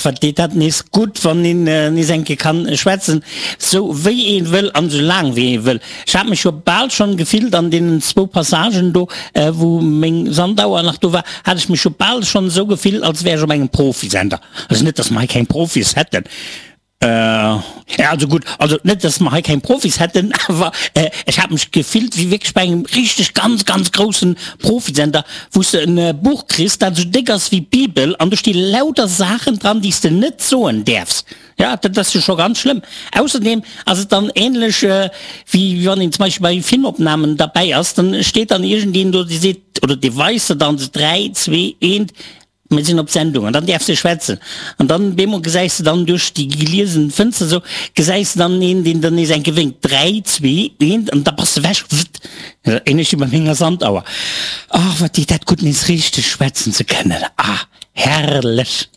Ach, wat deet dat nees gutt, wann een nees eng Kéier kann schwätzen, sou wéi ee wëll an sou laang wéi ee wëll. Ech hat mech jo bal schonn gefillt an deenen zwou Passagen do, wou meng Sandauer nach do war, hat ech mech jo bal schonn esou gefillt, als wär ech op engem Profisender. Also net, dass mer hei keng Profis hätten. Ja, also gutt, also net, dass mer hei keng Profis hätten, awer ech hat mech gefillt wéi wierklech bei engem richteg ganz, ganz groussen Profisender, wou s de en Buch kriss, dat esou déck ass wéi d'Bibel an do sti lauter Saachen dran, déi s de net soen däerfs. Ja, dat ass jo scho ganz schlëmm. Ausserdeem ass et dann ähnlech wéi wann een zum Beispill bei Filmopnamen derbäi ass, dann steet dann iergendeen do, dee seet oder dee weist der dann esou 3, 2, 1, Mir sinn op Sendung an dann däerfs de schwätzen. An dann bemol gesäis de dann duerch déi geliesen Fënster esou, gesäis de dann een, deen der nees eng Kéier wénkt, 3, 2, 1 an da bass de ewech, wëtt. Ähnlech wéi bei menger Sandauer. Ach, wat deet dat gutt, nees richteg schwätzen ze kënnen. Ah, herrlech!